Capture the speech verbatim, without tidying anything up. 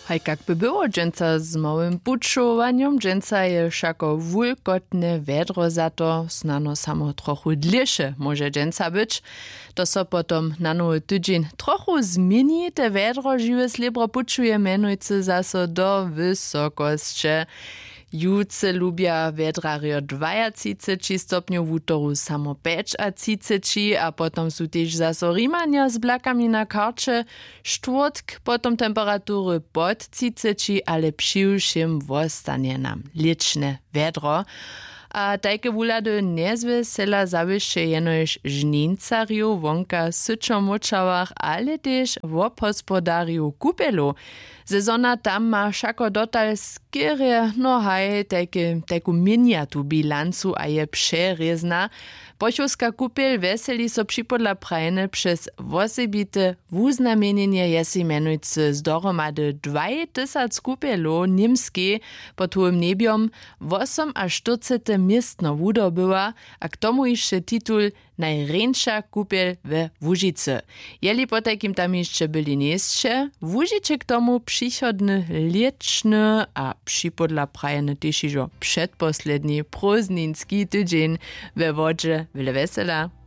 Haj kak by było dźensa z małym pućowanjom? Dźensa je wšako wulkotne wjedro, za to snano samo trochu dlěše móže dźensa być. To so potom na nowy tydźeń trochu změni. Te wjedro žiwe slěbro pućuje mjenujcy zaso do wysokosće. Jutře lubja wjedrarjo dwajatřiceći stopnjow, wutoru samo pjećatřiceći, a potom su tež zaso Rimanja z blakami na karće. Štwórtk potom temperatury pod třiceći, ale přiwšěm wostanje nam lěćne wjedro. A tajke wuhlady njezwjesela zawěsće jenož žnincarjow wonka w syćomóčałach, ale tež wobhospodarjow kupjelow. Sezona tam ma wšako dotal skerje, no haj, tajke, tajku měnjatu bilancu a je přerězna. Pochowska kupjel wjeseli so připodla prajene přez wosebite wuznamjenjenje, je sej mjenujcy z dohromady dwaj tysac kupjelow w Němskej pod hołym njebjom wosomaštyrcete městno wudobyła, a k tomu hišće titul Najrjeńša kupjel we Łužicy. Jeli potajkim tam hišće byli njejsće, wužiće k tomu přichodny lěćny a připodla prajeny tež hižo předposledni prózdninski tydźeń we wodźe. Wjele wjesela.